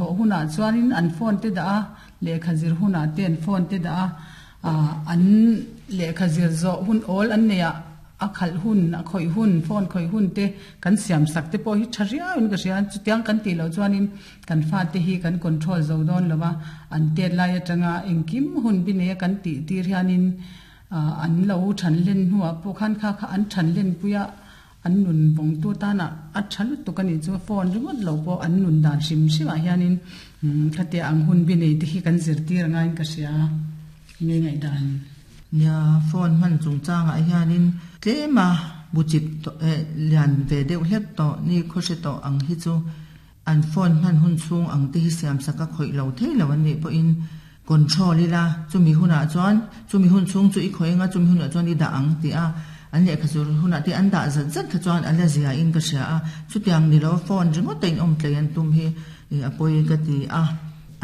thawh hunah chuanin an phone te dah a, lehkha zir hunah te an phone te dah a, an lehkha zir zawh hun awl an neih ah a khalh hun, a khawih hun, phone khawih hun te kan siam sak te pawh hi tha riau in ka hria a, chutiang kan tih loh chuanin kan fate hi kan control zo dawn lo va, an tet lai atanga engkim hun bi neia kan tih tir hianin an lo than len hnuah pawh khan kha kha an than len pui a, an nun vawngtu tana a tha lutuk a nih chu phone ringawt lo pawh an nun dan hrim hrim ah hianin khatia ang hun bi nei te hi kan zirtir angaiin ka hria nge ngaihdan. Nia, phone hman chungchangah hianin tlema bu chip tawh eh lian ve deuh hlek tawh ni khawhre tawh ang hi chu an phone hman hun chhung ang te hi siamsak a khawih lo thei lo an nih pawhin control ila chumi hunah chuan chumi hun chhung chu i khawih anga chumi hunah chuan i dah ang tih a an lehkha chu hunah te an dah zat zat kha chuan a la zia in ka hria a chutiang ni lo phone ringawt a in awm tlei an tum hi a pawi ka ti a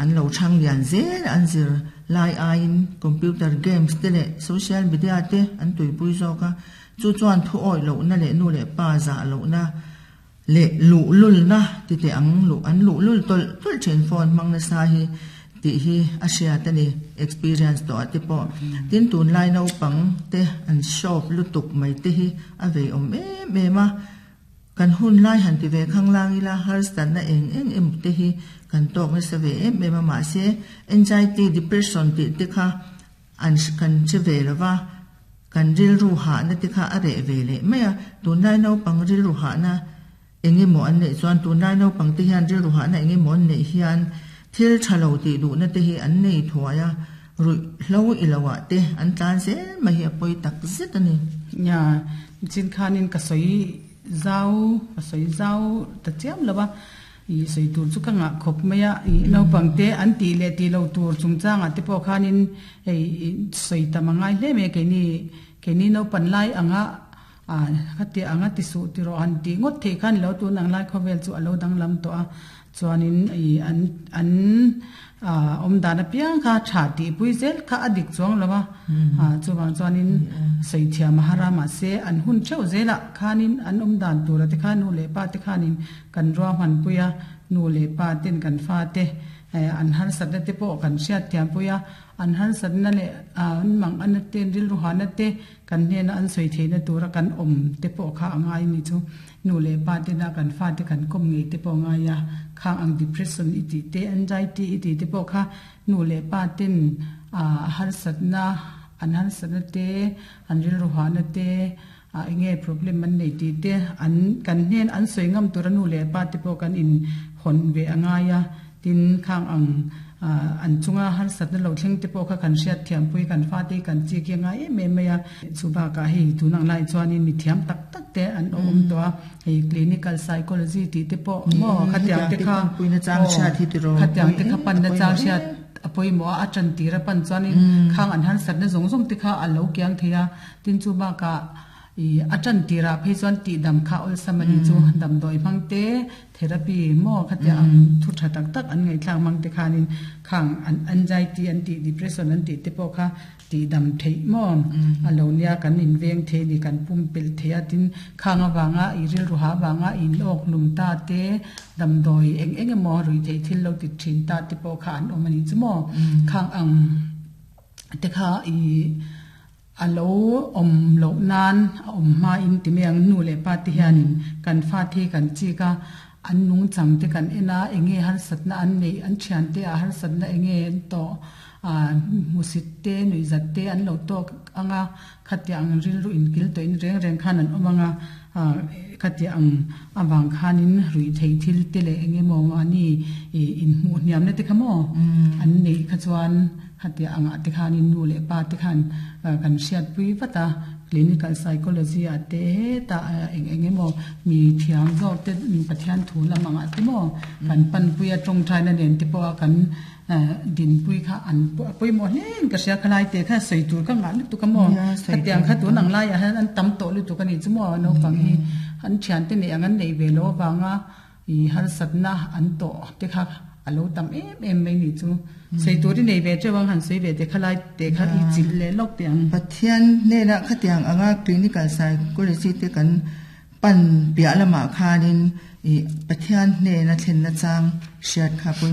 an lo chhang lian zel an zir lai aiin computer games te leh social media te an tuipui zawk a chu chuan thu awih lohna leh nu leh pa zah lohna Leh luhlulna ti teh ang luh an luhlul tawlh tawlh thin phone hmang nasa hi tih hi a hriat a ni experience tawh ah te pawh tin tunlai naupang te an shop lutuk mai te hi a vei awm em em a kan hun lai han ti ve khang lang ila harsatna eng eng emaw te hi kan tawk nasa ve em em a mahse anxiety depression tih te kha An kan che ve lo va, kan rilru hahna te kha a reh ve leh mai a. Tunlai naupang rilru hahna eng emaw an neih chuan tunlai naupang te hian rilru hahna eng emaw an neih hian thil tha lo tih duhna te hi an nei thuai a, ruih hlo i lo ah te an tlan zel mai hi a pawi tak zet a ni. Nia, chin khanin ka sawi zau, ka sawi zau ta chiam lo a. I sawi tur chu ka ngah khawp mai a, i naupang te an tih leh tih loh tur chungchangah te pawh khanin hei sawi tam a ngai hle mai a, keini keini naupan lai anga ah khati anga ti suh ti rawh han tih ngawt theih khan lo tun ang lai khawvel chu a lo danglam tawh a, chuanin i an an ah awm dan apiang kha tha tih pui zel kha a dik chuang lo a, ah chuvang chuanin sawi thiam a har a mahse an hun theuh zelah khanin an awm dan tura te khan nu leh pa te khanin Kan ruahmanpui a, nu leh pa ten kan fate an harsatna te pawh kan hriatthiampui a, an harsatna leh an manganna te, an rilruhana te kan hnena an sawi theihna tura kan awm te pawh kha a ngai ni chu. Nu leh pa tena kan fate kan kawm ngei te pawh a ngai a, khang ang depression i tih te, anxiety i tih te pawh kha nu leh pa ten harsatna, an harsatna te, an rilruhana te, A enge problem an nei tih te an kan hnen an sawi ngam tura nu leh pa te pawh kan in hawn ve a ngai a, tin khang ang an chunga harsatna lo thleng te pawh kha kan hriat thiam pui kan fate hi kan chik hi a ngai em em mai a. Chu bakah hei tun ang lai chuanin mi thiam tak tak te an awm tawh a, hei clinical psychology tih te pawh maw khatiang te kha aw khatiang te kha panna chang hriat a pawimawh a, a tan tir a pan chuanin khang an harsatna zawng zawng te kha a lo kiang thei a. Tin chu bakah i a tan tirah phei chuan tihdam kha awlsam a ni chu damdawi hmang te, therapy maw khatia ang thu tha tak tak an ngaihthlak hmang te khanin khang an anxiety an tih depression an tih te pawh kha tihdam theih maw a lo nia kan inveng thei a ni kan pumpelh thei a tin khang avanga i rilru ha avanga in awk hlum ta te damdawi eng eng emaw ruih theih thil lo ti thin ta te pawh kha an awm a ni chu maw khang ang te kha i. A lo awm loh nan a awm hmain ti mai ang, nu leh pa te hianin kan fate hi kan chik a, an nungchang te kan en a, eng nge harsatna an neih, an thiante ah harsatna eng nge an tawh, ah hmusit te, nuihzat te an lo tawk ang a, khatiang ang rilru inkil tawhin reng reng khan an awm ang a, ah khatiang ang avang khanin ruih theih thil te leh eng emaw mahni inhmuh hniamna te kha maw an neih kha chuan. Khatia angah te khanin nu leh pa te khan kan hriatpui vat a, clinical psychology ah te hetah eng eng emaw mi thiam zawk te Pathian thu lam angah te maw kan panpui a tawngtaina nen te pawha kan dinpui kha an pawimawh hle in ka hria khalai te kha sawi tur ka ngah lutuk a maw khatiang kha tun ang laiah hian an tam tawh lutuk a nih chu maw naupang hi an thiante neih ang an neih ve loh avanga I harsatna an tawh te kha a lo tam em em mai nih chu. Sawi tur i nei ve teuh ang han sawi ve te kha lai te kha i chilh leh lawk teh ang. Pathian hnenah khatiang anga clinical psychology te kan pan piah lamah khanin i Pathian hnena thlenna chang hriat kha pawimawh.